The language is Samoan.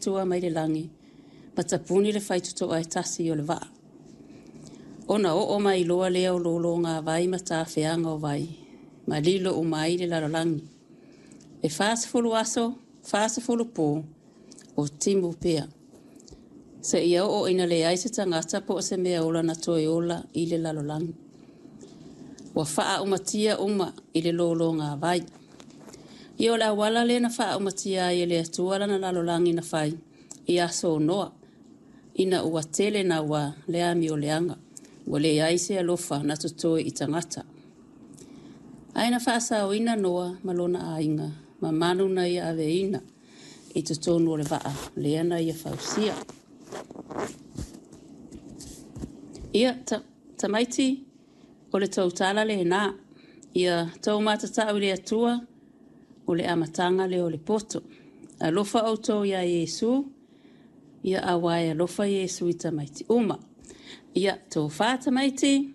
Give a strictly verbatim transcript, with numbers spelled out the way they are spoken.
Atua mai le lagi ma tapuni le faitotoa e tasi o le vaa. Ona oo mai loa lea o lōlōgāvai ma tafeaga o vai, ma lilo uma ai le lalolagi. E fasefulu aso, fasefulu pō o timu pea, seia oo ina leai se tagata po o se mea ola na toe ola i le lalolagi. Ua faaaumatia uma i le lōlōgāvai. Ia o le auala lea na faaaumatia ai e le Atua lana lalolagi na fai i aso o Noa, ina ua tele naua le amioleaga, ua leai se alofa na totoe i tagata. Ae na faasaoina Noa ma lona aiga ma manu na ia aveina i totonu o le vaa lea na ia fausia. Ia, ta, tamaiti, o le tou tala lenā. Ia tou matatau i le Atua, o le amataga lea o le poto. Alofa outou iā Iesu, ia auā e alofa Iesu i tamaiti uma. Ia, tofa tamaiti,